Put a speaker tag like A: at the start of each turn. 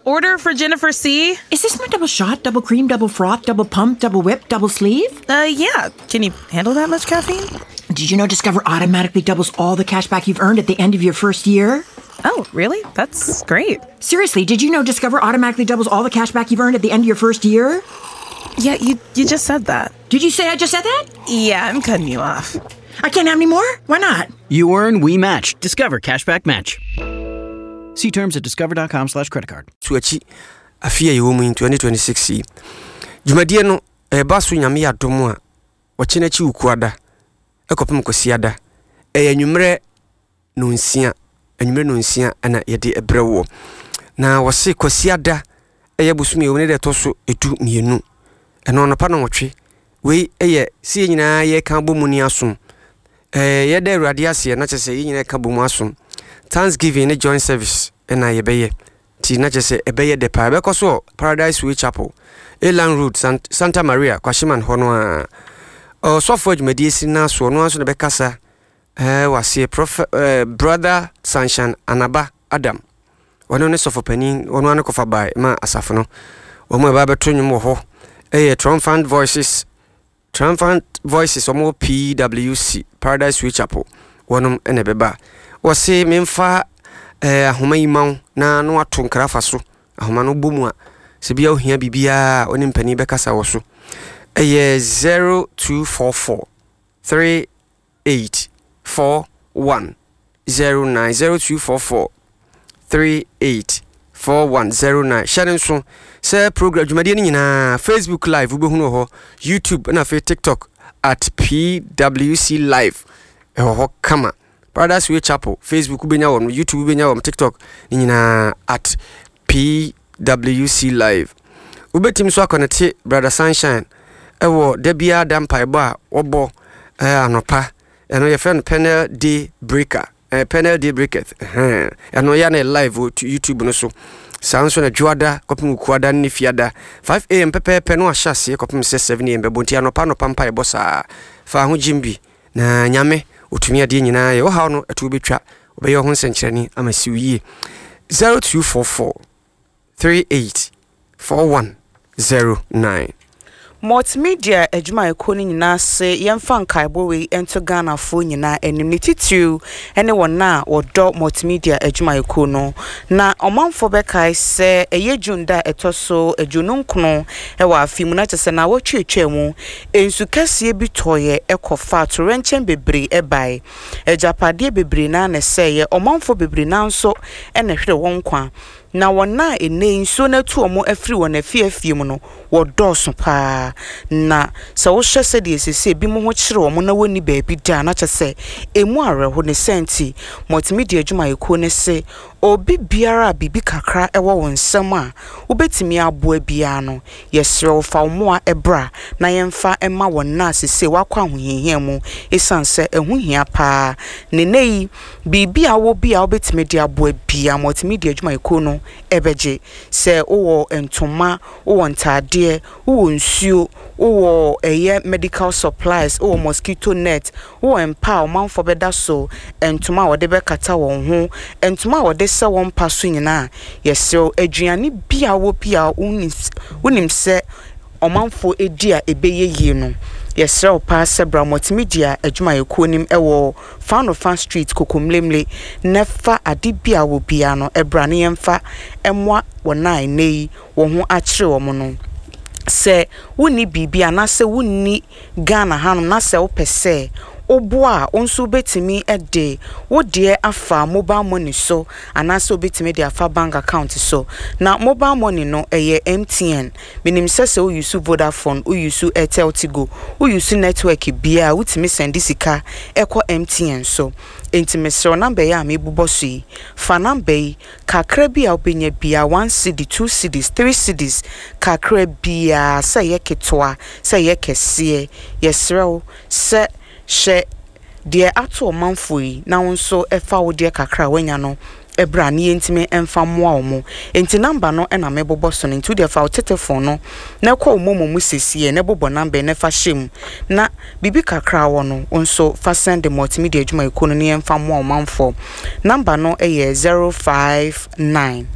A: Order for Jennifer C.
B: Is this my double shot, double cream, double froth, double pump, double whip, double sleeve?
A: Yeah. Can you handle that much caffeine?
B: Did you know Discover automatically doubles all the cash back you've earned at the end of your first year?
A: Oh, really? That's great.
B: Seriously, did you know Discover automatically doubles all the cash back you've earned at the end of your first year?
A: Yeah, you just said that.
B: Did you say I just said that?
A: Yeah, I'm cutting you off.
B: I can't have any more? Why not?
C: You earn, we match. Discover Cashback Match. See terms at discover.com/credit card.
D: So akyi afe a yɛwɔ mu yi 2026 yi dwumadie no ɛreba so Nyame yɛ adom a ɔkyena akyi Wukuada ɛkɔpem Kwasiada ɛyɛ anwummerɛ nonsia anwummerɛ nonsia ɛna yɛde ɛbrɛ woɔ na wɔse Kwasiada ɛyɛ bosome ɛwɔ ne deɛ ɛtɔ so 12 ɛno anɔpa nɔnwɔtwe wei ɛyɛ sɛ yɛn nyinaa yɛka bɔ mu ni asom ɛɛ yɛda Awurade aseɛ na kyerɛ sɛ yɛn nyinaa ka bɔ mu asom Thanksgiving ne joint service ɛna yɛbɛyɛ nti na kyerɛ sɛ ɛbɛyɛ dɛ paa ɛbɛkɔ so wɔ Paradise Way Chapel Elan Road Santa Maria Kwashiman hɔ no a ɔsɔfo adwumadie si no asoɔ no ara nso na ɛbɛkasa ɛɛ wɔ aseɛ Prophet ɛɛ Brother Sunshine Anaba Adam ɔno ne sɔfo panin ɔno ara ne kɔfa bae ma asafo no wɔn a ɛba abɛto nnwom wɔ hɔ ɛyɛ Triumphant Voices Triumphant Voices wɔn wɔ PWC Paradise Way Chapel wɔnom na ɛbɛba wɔse memfa ɛɛ ahoma yi ma wo na no ato nkra fa so ahoma no bɔ mu a sɛ bia ohia biribiara a ɔne mpanin bɛkasa wɔ so ɛyɛ 0244 3 8 4 1 0 9 0 2 4 4 3 8 4 1 0 9 hyɛ no nso sɛ program dwumadie no nyinaa Facebook live wobɛhunu wɔ hɔ YouTube na afei TikTok at PWC live ɛwɔ hɔ kama Paradise Way Chapel Facebook wobɛnya wɔn YouTube wobɛnya wɔn TikTok ne nyinaa at PWC live wobɛtumi nso akɔnɛte Brother Sunshine ɛwɔ da biara da mpaebɔ a wɔbɔ ɛɛ anɔpa ɛno yɛfrɛ no Pennell Day Breaker ɛɛ Pennell Day Breakers ɛhɛn ɛno yɛ na live wɔ YouTube no so saa nso na dwoada kɔpem kuada ne fiada 5am pɛpɛɛpɛ no ahyɛ aseɛ kɔpem sɛ 7am bɛbɔ nti anɔpa anɔpa mpaebɔ saa fa ho gyim bi na Nyame ɔtumi adeɛ nyinaa yɛ ɔhaw no ɛto wobɛtwa ɔbɛyɛ ho nsɛnkyerɛnne ama siw yie 0244 38 4109.
E: Multimedia adwumayɛkuo no nyinaa se yɛmfa nkaebɔ wei nto Ghanafoɔ nyinaa anim, ne titiriw ne wɔn a wɔdɔ Multimedia adwumayɛkuo no. Na ɔmanfoɔ bɛkae sɛ ɛyɛ June da a ɛtɔ so 29 wɔ afe mu, na kyerɛ sɛ naawɔtwe atwaa mu, nsu kɛseɛ bi tɔeɛ kɔfaa torɛnkyɛm bebree bae. Agyapadeɛ bebree no ara na ɛsɛeɛ, ɔmanfoɔ bebree no ara nso na ɛhweree wɔn nkwa. Na wɔn a ɛnnɛ yi nsuo no atu wɔn afiri wɔn afie afie mu no, wɔdɔɔso pa ara. Na sɛ wohwɛ sɛdeɛ seesei ebinom ho kyere wɔn na wɔnni baabi da a, na kyerɛ sɛ ɛmu awerɛho. Ne saa nti, Multimedia adwumayɛkuo no se, obi biara a biribi kakra wɔ wo nsam a wobɛtumi aboa biara no, yɛsrɛ wo fa wo mmoa bra na yɛmfa mma wɔn a seesei wɔakɔ ahohiahia mu ɛsiane sɛ ɛho hia pa ara. Na ɛnnɛ yi, Biribi a wowɔ bi a wobɛtumi de aboa biara, multimedia adwumayɛkuo no bɛgye. Sɛ wowɔ ntoma, wowɔ ntaadeɛ, wowɔ nsuo, wowɔ ɛyɛ medical supplies, wowɔ mosquito net, wowɔ mpa a ɔmanfoɔ bɛda so, ntoma a wɔde bɛkata wɔn ho, ntoma a wɔde sɛ wɔn mpa so nyinaa, yɛsrɛ wo, aduane bi a wowɔ bi a wonim sɛ ɔmanfoɔ di a ɛbɛyɛ yie no, yɛsrɛ wo paa sɛ bra multimedia adwumayɛkuo no mu wɔ Fanofa Street Kokomlemle na fa ade bi a wɔ biara no bra na yɛmfa mmoa wɔn a nnɛ yi wɔn ho akyere wɔn no. Sɛ wonni biribi anaasɛ wonni Ghana hanom na sɛ wopɛ sɛ woboa a, wo nso wobɛtumi de wo deɛ afa mobile money so anaasɛ wobɛtumi de afa bank account so. Na mobile money no ɛyɛ MTN. Menim sɛ sɛ wo use Vodafone, wo use Airtel Tigo, wo use network biaa a wotumi sɛnde sika kɔ MTN so. Enti mesrɛ wo number yi a mebobɔ so yi, fa number yi, kakra bi a wobɛnya biaa, one cedi, two cedis, three cedis, kakra biaa, sɛ ɛyɛ ketewa, sɛ ɛyɛ kɛseɛ, yɛsrɛ wo sɛ hyɛ deɛ ato ɔmanfoɔ yi na wo nso fa wo deɛ kakra a woanya no bra na yɛntumi mfa mmoa wɔn. Enti number no na mebobɔ so no, nti wo deɛ fa wo tetefon no na kɔ wo momo mu sesiɛ na bobɔ number yi na fa hyɛ mu na biribi kakra a wɔ no wo nso fa sɛnde Multimedia adwumayɛkuo no na yɛmfa mmoa ɔmanfoɔ. Number no yɛ 059.